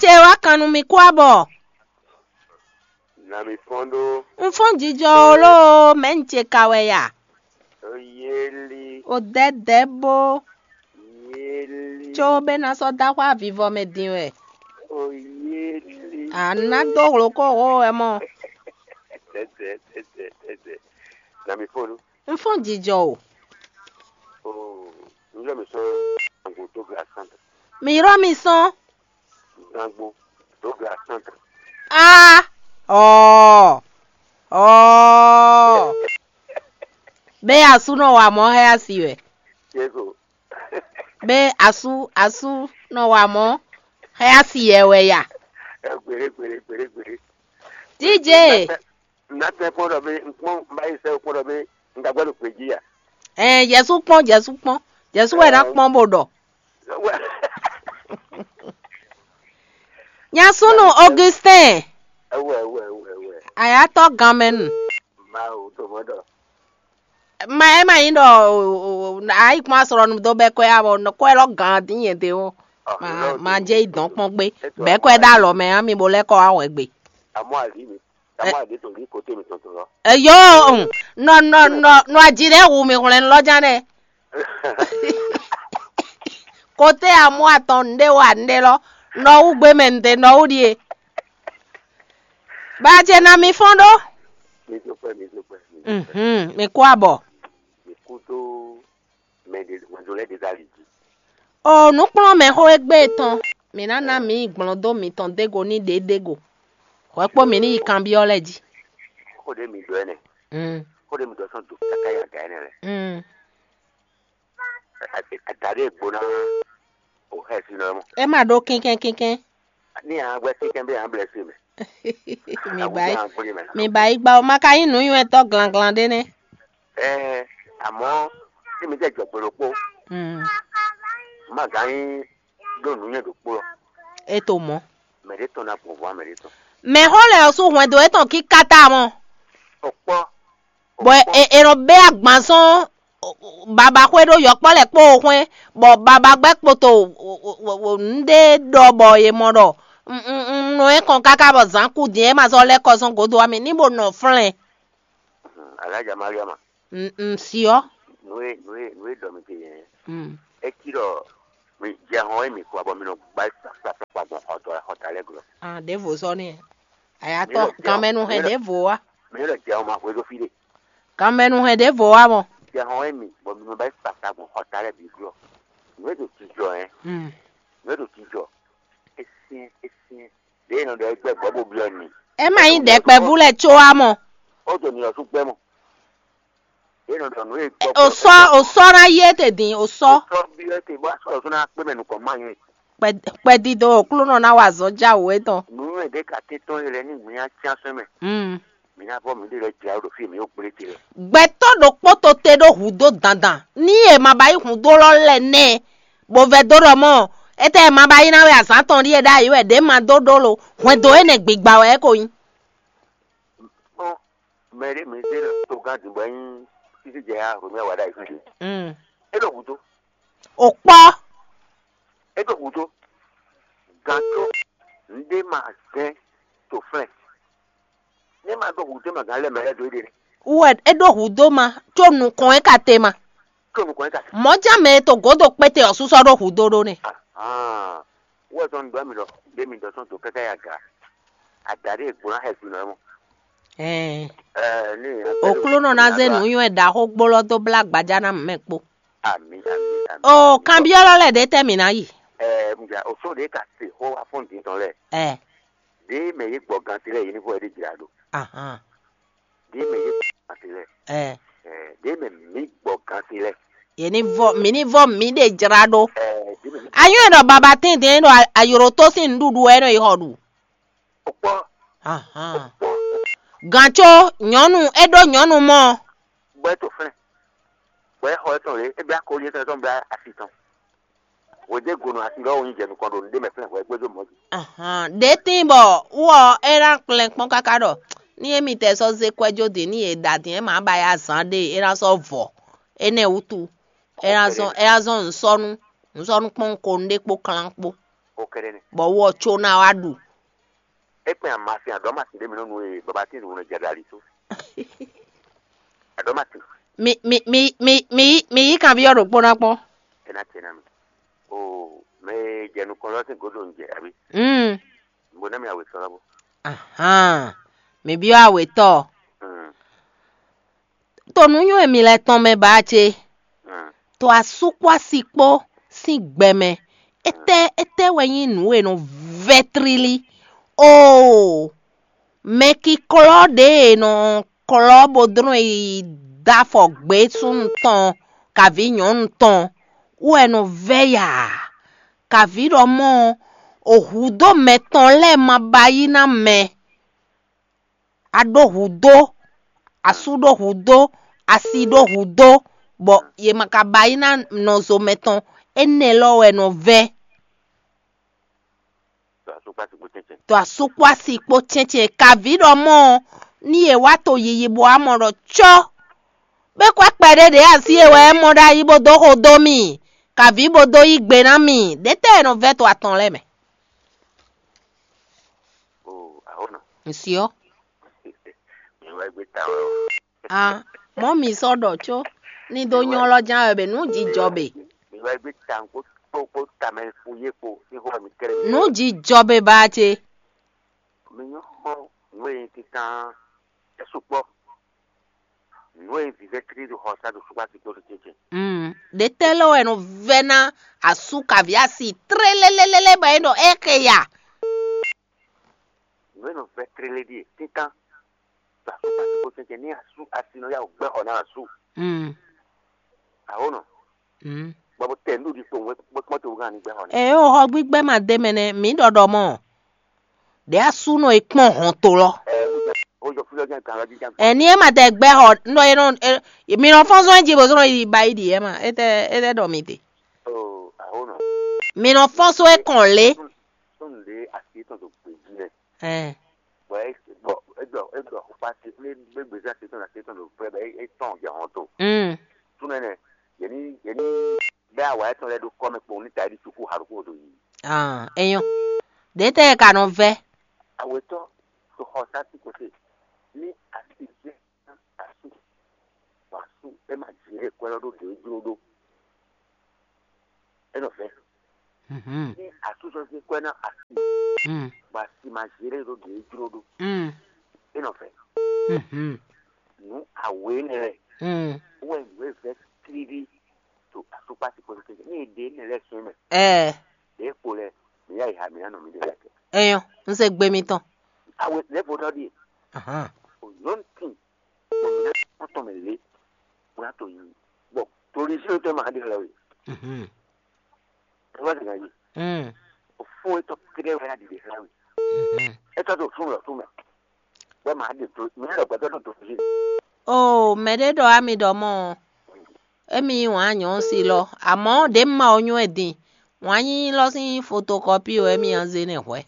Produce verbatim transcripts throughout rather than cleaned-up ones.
te wá kan nú mi kú abɔ. Na mi fɔ́n ɖó. Un fɔ́n jijɔ o ló, mɛ̌ un ce ka wɛ ya? Oyéli. O dɛdɛ bó. Yéli. Có bɛ ná sɔ́ dó axwá vivɔ mɛ din wɛ. Oyéli. A ná dó hlokóhó wɛ mɔ. Dɛdɛ, dɛdɛ, dɛdɛ. Na mi fɔ́n ɖó. Un fɔ́n jijɔ o. Oo, un ylɔ́ mi sɔ́ Zangbo dó gbe asán. Mi ylɔ́ mi sɔ́n. Zangbo dó gbe asán. A ɔɔ ɔɔ. Bɛ asú nɔ wa mɔ xɛ asi wɛ. Yego. Bɛ asú asú nɔ wa mɔ xɛ asi yɛ wɛ ya. Ɛ gbere gbere gbere gbere. Díje. Ná tɛ kpɔ́n ɖɔ bí n kpɔ́n n bá yi sɛ kpɔ́n ɖɔ bí n ka gbɛ́ ɖo gbě jí a? Ɛɛ, Jɛsu kpɔ́n, Jɛsu kpɔ́n, Jɛsu wɛ ná kpɔ́n bó ɖɔ. Wɛ Nyasúnú Augustin, ɛwɛ ɛwɛ ɛwɛ ɛwɛ. Ayatɔ ganmɛnu. Mawu tó mɔ ɖɔ. Ma ɛ ma nyí ɖɔ ayi kún asrɔ́nu dó bɛ́ kwɛ́ abɔ kwɛ́ lɔ gǎn dín nyɛ de ó. Ma ma jɛ yi dɔn kpɔ́n gbé. Bɛ́ kwɛ́ ɖó alɔ mɛ ami bo lɛ́ kɔ wá hwɛ gbe. Amɔ ali mi. Amɔ ali tó lí kote mi tɔn tɔn lɔ. Eyo, nɔ nɔ nɔ nɔ aji ɖe hu mi hwlɛn lɔ ján nɛ. Kote amɔ atɔn nɖe wa nɖe lɔ, nɔ wu gbé mɛ nɖe nɔ wu ɖie. Ba jɛ na mi fɔn ɖó. Mi dúpẹ́, mi dúpẹ́, mi dúpẹ́. Mhm, mi kú abɔ. Mi kú tó mɛ ɖe mɛdo lɛ ɖe dali jí. O nǔkplɔ́nmɛxó égbé tɔn, mǐ ná ná mǐ yi gblɔ́n dó mitɔn dégo ní ɖě dégo. Hwɛ kpó mǐ ní yi kanbyɔ́ lɛ́ɛ jí. Xó ɖé mi ɖɔ ɛnɛ. Mm. Xó ɖé mi ɖɔ sɔn do kaka ya ga ɛnɛ lɛ. Mm. Ada ɖé gbo ná o xɛ si nɔ mɔ. É ma ɖó kínkɛ́n kínkɛ́n. Ní a gbɛ kínkɛ́n bí a blɛ si mɛ. Mi ba yi, mi ba yi gba o ma ka nyí nǔnywɛ́tɔ́ glanglan ɖé nɛ́. Ɛɛ, àmọ́ tí mi jẹ́ jɔ̀gbɔn ɖokpó, Mm. má gǎn nyí ɖó nǔnywɛ́ ɖokpó lɔ. É to mɔ̌. Mɛ ɖé tɔn ná gbɔn vɔ̌ mɛ ɖé tɔn. Mɛ̌xó lɛ́ɛ ɔ́ sú hwɛndo yětɔn kíká ta mɔ, Ɔ kpɔ́. Bɔ è è nɔ bɛ́ agban sɔ́n babaxwé ɖó yɔkpɔ́ lɛ́ɛ kpó xwɛ́n, bɔ babagbɛ́ kpoto nǔɖé ɖɔ bɔ è mɔ ɖɔ un un un nɔ é kɔn káká bɔ zǎn kú din é ma sɔ́ lɛ́ kɔ sɔ́n gǒdo ɔ́ mɛ ní bo nɔ flɛ́n. Alájà Mariama, Un un si ɔ́. Nǔ e nǔ e nǔ e ɖɔ mi te yɛn. Mm. É cí ɖɔ mi jɛ hɔn e mi kɔ bɔ mi nɔ gbá kpakpakpa gbɔn xɔtɔ xɔta lɛ́ɛ glɔ́. Ah, ɖěvo sɔ́ n'i. Àyátɔ Mi lɔ jɛ- kanmɛnu hɛn mi lɔ- ɖěvo wá. Mi lɔ jɛ hɔn ma hwedó fí ɖe. Kanmɛnu hɛn ɖěvo wá mɔ. Jɛ hɔn e mi bɔ mi nɔ gbá kpakpakpa gbɔn xɔta lɛ́ɛ bǐ glɔ́. Nǔ e ɖo jijɔ yɛn. Mm. Nǔ e ɖo jijɔ. É syɛ́n é syɛ́n. Ɖě e nɔ ɖɔ é gbɛ́ gbɔ̌ bó byɔ́ ni. É ma nyí ɖɛkpɛvú lɛ́ɛ có wá mɔ. Ó ɖo nyi ɔ́ sú gbɛ́ mɔ. Ɖě e nɔ ɖɔ nǔ e gbɔ O sɔ́ o sɔ́ ná yí é te din o sɔ́. Sɔ́ byɔ́ é te bó asɔ́ ɔ́ sú ná kpé mɛ nukɔn má nyɛ. Kpɛdídó Oklúnɔ ná wa azɔ̌ jáwǔ étɔn. Nǔ e ɖě ka tɛ́n tɔn e lɛ́ɛ ní mǐ nya cyán sɛn mɛ. Mm. Mǐ ná vɔ mǐ ɖe lɛ́ jlá ɖo fí e mǐ ɖo gblé te lɛ́ɛ. Gbɛtɔ́ ɖokpó to te ɖó hǔ dó dandan ní e ma ba yí hǔn dó lɔ lɛ nɛ́, bó vɛ́ dó ɖɔ mɔ́, étɛ́ e ma ba yí ná wɛ azǎn tɔn ɖíe ɖ'ayǐ wɛ ɖě ma dó ɖó lo hwɛndo énɛ́ gbigba wɛ é ko nyí. Kpɔ́n, mɛ ɖé mǐ zé ɖo togán din bɔ é nyí sísí jɛ ya hwemɛ wa ɖ'ayǐ fí. Mm. É ɖo gǔdo. O kpɔ́. É ɖo gǔdo. Gǎn có nǔɖé ma zɛ́n to flɛ́n. Ní ma ɖó hǔn tɛ́ mɛ gǎn lɛ́ɛ mɛ lɛ́ɛ dó éɖée. Wɛ é ɖó hǔ dó ma, có nukɔn é ka te ma. Có nukɔn é ka te. Mɔ̌ ján mɛ e to gǒdo kpéte ɔ́ sú sɔ́ ɖó hǔ dó ɖó nɛ́. Ahán. Wɛ sɔ́ un ɖɔ mi ɖɔ ɖé mi ɖɔ sɔ́ dǒ káká yi aga. Ada ɖé gbló ná xɛ sin nɔ mɔ. Ɛɛ. Ɛɛ ní. Oklúnɔ ná zé nǔnywɛ́ ɖaxó gbólɔ́ dó blá gbajá ná mɛ kpó. Ami ami ami. O kanbyɔ́lɔ lɛ́ɛ ɖě tɛ́ mǐ ná yi. Ɛɛ, un ja o sɔ́ ɖě ka se xó wá fɔ́n din tɔn lɛ. Ɛɛ. Ɖě mɛ yě gbɔ gan te lɛ yě ní fɔ yě ɖe jlá ɖo. Ahán. Ɖě mɛ yě gbɔ gan te lɛ. Ɛɛ. Ɛɛ, ɖě mɛ mǐ gbɔ gan te lɛ. Yě ní vɔ mǐ ní vɔ mǐ ɖe jlá ɖó. Ɛɛ, ɖě mɛ mǐ. Anyɔ́ ɖɔ baba tɛ́ntɛn ɖɔ ayǒɖótó sín nǔɖuɖu wɛ é nɔ yi xɔ ɖu. O kpɔ. Ahán. O kpɔ. Gǎn có nyɔ̌nu é ɖó nyɔ̌nu mɔ. Bɔ é to flɛ́n. Bɔ é xɔ étɔn lě, é blá koli étɔn tɔn blá asi tɔn. Hwedégonu asi lɔ wo nyi jɛ nukɔn ɖo nǔɖé mɛ flɛ́n hwɛ gbéjó mɔ̌ jí. Ahán, ɖě tín bɔ wú ɔ́ é ná kplɛ́n kpɔ́n káká ɖɔ ní émítɛ́ sɔ́ zé kwɛ́ jó din ní yě ɖa din é má ba yá zǎn ɖé é ná sɔ́ vɔ. Énɛ́ wútu é ná zɔn é ná zɔn nǔsɔ́nú nǔsɔ́nú kpɔ́n ko nǔɖé kpó klán kpó. kɛ́ɖɛ́ nɛ́. Bɔ wɔ có ná wá ɖu. É kpɛn amasin aɖɔ̌masin ɖé mi nɔ nu e baba tín ɖo nɔ jɛ ɖo ali tó. Aɖɔ̌masin. Mi mi mi mi mi yí mi yí kanbyɔ́ ɖokpó ná kpɔ́n. É ná tɛ ná mi. O mɛ e jɛ nukɔn lɔ sín gǒdo un jɛ abi. Mm. Bo ná mi awe sɔ lɔ bo. Ahan. Mi byɔ́ awetɔ. Mm. To nǔnywɛ́ mi lɛ́ɛ tɔn mɛ ba ce. Mm. To asú kpó asi kpó sín gbɛ mɛ. Étɛ́ étɛ́ wɛ nyí nǔ e nɔ vɛ́ tlílí? Oo, mɛkiklɔ́ ɖě e nɔ klɔ́ bó dlɔ́n yi dó afɔ gbě súnnu tɔn kaví nyɔ̌nu tɔn wú wɛ nɔ vɛ́ ya. Kaví ɖɔ mɔ́ ɔ́, hǔdó mɛtɔn lɛ́ɛ ma ba yí ná mɛ. A ɖó hǔdó, asú ɖó hǔdó, asi ɖó hǔdó, bɔ yě ma ka ba yí ná nɔzo mɛtɔn. Énɛ́ lɔ wɛ nɔ vɛ́. To asú kpó asi kpó cɛ́ncɛ́n. To asú kpó asi kpó cɛ́ncɛ́n. Kaví ɖɔ mɔ́ ɔ́, ní yě wá to yiyi bɔ wá mɔ ɖɔ cɔ́. Bó kwɛ́ kpɛɖé ɖě asi e wɛ é mɔ ɖ'ayǐ bó dó xo dó mì, kaví bó dó yí gbe ná mì. Ɖětɛ́ e nɔ vɛ́ to atɔn lɛ́ɛ mɛ. O ahónɔ. Ŋsyɔ. Mi wá gbé ta wɛ o. A mɔ̌ mi sɔ́ ɖɔ có ní dó nyɔ́ lɔ ján wɛ bɛ nǔ jijɔ bɛ. Mi wá gbé ta kpó kpó kpó tamɛ fún yé kpó ní xó mi kɛlɛ mi. Nǔ jijɔ bɛ ba ce. Mi nyɔ́ xɔ nǔ e nyí títán é sukpɔ́. Nǔ e vǐvɛ́ tlí ɖo xɔ sá ɖo sukpɔ́ asi kpó ɖo cɛ́cɛ́. Mm. Ɖě tɛ́ lɔ wɛ nɔ vɛ́ ná asú kaví asi tlélélélélé bɔ é ɖɔ é xe ya. Nǔ e nɔ vɛ́ tlélé ɖíe títán ɖo asú kpó asi kpó cɛ́cɛ́ ní asú asi nɔ yá wǔ gbɛ́ xɔ ná asú. Mm. Ahónɔ. Mm. Bɔ bó tɛ nǔɖuɖu kpowun wɛ bó kpɔ́n to gán ní gbɛ́ xɔ ná. Ɛ o xɔ gbígbɛ ma dé mɛ nɛ mǐ ɖɔɖɔ mɔ. Ɖě asúnɔ e kpɔ́n hɔn to lɔ. Ɛ ó jɔ fúlɔ jẹ́ gan lɔ jíjá. Ɛ ní ɛ ma tɛ gbɛ́ xɔ nɔ e nɔ e- mi nɔ fɔ́n zɔn jí bó zɔn yi ba yi ɖi ɛ ma é tɛ é tɛ ɖɔ mi te. O ahónɔ. Mi nɔ fɔ́n só é kɔn lé. Sónù ɖé asi tɔn tó gbèjì rẹ̀. Ɛ Bɔ é bɔ é dɔ é dɔ xɔkpa te kple gbégbé zã te tɔn na te tɔn ɖo vɛ bɛ é tɔn jɛ hɔn to. Mm. Súnɛ nɛ yɛni yɛni bɛ awa etɔn lɛ ɖo kɔmɛ kpɔn ní ta ɖi suku haɖuku ɖo yi. Ah, enyo. Ɖě tɛ ka nɔ vɛ. Awetɔ to xɔ sa ti kote ní asi jɛ asu bɔ asu é ma jɛ kwɛ lɔ ɖo ɖě jló ɖó. É nɔ vɛ. Mhm. Ní asu sɔ se kwɛ ná asi Mm. bɔ asi ma jɛ ɖó ɖě jló ɖó. Mm. É nɔ vɛ. Mhm. Nǔ awě nɛ lɛ Mm. wɛ nǔ e vɛ tlílí to asukpasi kpɔtɔ ní e ɖe nɛ lɛ sɔn mɛ. Ɛ. Ɖě kpo lɛ mi yá yi ha mi yá nɔ mi ɖe lɛ kɛ. Enyo, n se gbe mitɔn. Awe lɛ vo dɔ ɖi Ahan. O nyɔnu tin o mi na kpɔtɔ mɛ lé o na to yi bɔ torí sí o tɛ ma ɖe lɛ o yi. Mhm. Ẹ wá dìgbà yìí. Mm. O fún etɔ kéré wɛ yá dìde hàn mi. Mhm. Etɔ tó fún lọ fún mɛ. Wɛ ma ɖe tó mi lọ gbɛdɔ tó tó fi. O mɛ ɖé ɖɔ ami ɖɔ mɔ emi wǎn nyɔ̌ si lɔ amɔ̌ ɖě ma o nyɔ́ ɛ din wǎn nyí lɔ sín fotokɔpi wɛ mi an zé nɛ hwɛ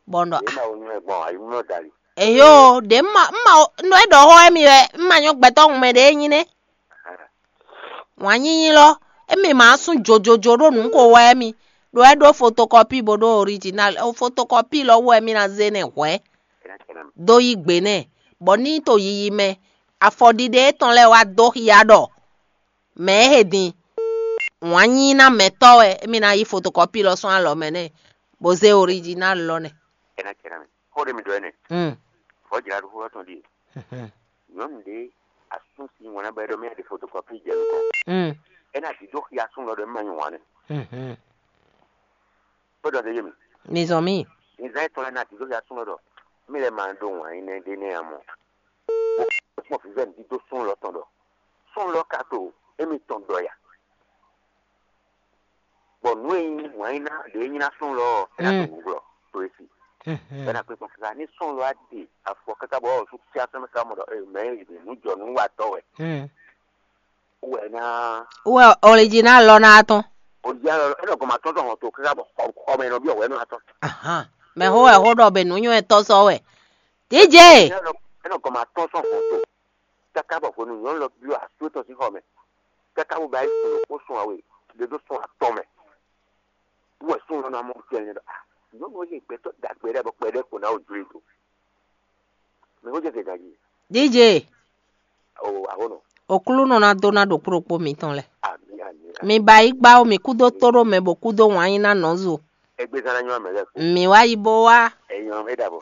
bɔ n ɖɔ Èyí máa wo nyɔ́ ẹ gbɔn àyímúná dali. Eyo ɖě ma ma nɔ é ɖɔ xɔ emi wɛ ma nyɔ́ gbɛtɔ́ hun mɛ ɖě nyí nɛ wǎn nyí nyí lɔ emi ma sún jojojo ɖó nǔ ko wɛ emi ɖo é ɖó fotokɔpi bo ɖó original fotokɔpi lɔ wɛ mi na zé nɛ hwɛ Ẹ ná tẹ̀lé mi. Dó yí gbe nɛ bɔ ní to yiyi mɛ afɔɖiɖe étɔn lɛ́ɛ wá dó xia ɖɔ mɛ e he din wǎn nyí ná mɛtɔ́ wɛ émí ná yí fotokɔpi lɔ sɔ́ alɔ mɛ nɛ bó zé orijinal lɔ nɛ. Ẹ ná tẹ̀lé mi. Xó ɖé mi ɖɔ ɛ nɛ. Mm. Vɔ̌ jlá ɖo xó tɔn ɖíe. Mhm. Nyɔ̌nu ɖé asún sín ŋɔ̌ ná bɔ é ɖɔ mɛ ɖe fotokɔpi jɛ nukɔn. Mm. É ná dǐdó xia asún lɔ ɖɔ é má nyí wǎn nɛ. Mhm. Kpé ɖɔ ɖe yé mi. Mi zɔn mì. Nizan etɔn lɛ ná dǐdó xia asún lɔ ɖɔ mí lɛ ma ɖó wǎn yí nɛ ɖé nɛ́ ǎ mɔ. Bó kpɔ́n vǐvɛ́ dídó sún lɔ tɔn ɖɔ sún lɔ ka to émítɔn ɖɔ ya. Bɔ nǔ e nyí wǎn yí ná ɖě nyí ná sún lɔ ɔ́ é ná to Mm. Nǔglɔ́ to é sí. Mhm. Bɛ́ ná kpé kpɔ́n káká ní sún lɔ á ɖe afɔ káká bɔ ɔ́ sú kíá sɔ́ mɛ ká mɔ ɖɔ ɛ mɛ e ɖe nǔ jɔ nǔ wa tɔ́ wɛ. Mm. Wɛ ná Wɛ orijinal lɔ ná tɔn. Orijinal lɔ é nɔ gɔn ma tɔn tɔn hɔn to káká bɔ xɔ xɔ mɛ nɔ bí ɔwɛ nɔ atɔn. Ahan. Mɛ xó wɛ xó ɖɔ be nǔ nywɛ́ tɔ́ sɔ́ wɛ. Díje. É nɔ é nɔ gɔn ma tɔn sɔn hɔn to káká bɔ hwenu nyɔ̌nu lɔ byɔ́ asú tɔn sín xɔ mɛ káká bó ba yí sun kó sun awe ɖe dó sun atɔn mɛ. Wɛ súnnu ná mɔ tɛnlɛ ɖɔ, ah, nyɔnu e gbɛtɔ dagbe ɖe bɔ kpɛɖe ko ná o jlé do. Mi ko jɛ gɛgɛ ji. D J, o ahonɔ. Oklunɔ ná dó ná ɖo kplɔ́kpó mitɔn lɛ. Ami ami. Mi ba yi gbá o, mi kúdó tó ɖó mɛ bɔ kúdó wǎn yí ná nɔ zo. Egbe zan ná nyɔ amɛ lɛ. Mi wá yi bó wá. Enyɔ e ɖa bɔ.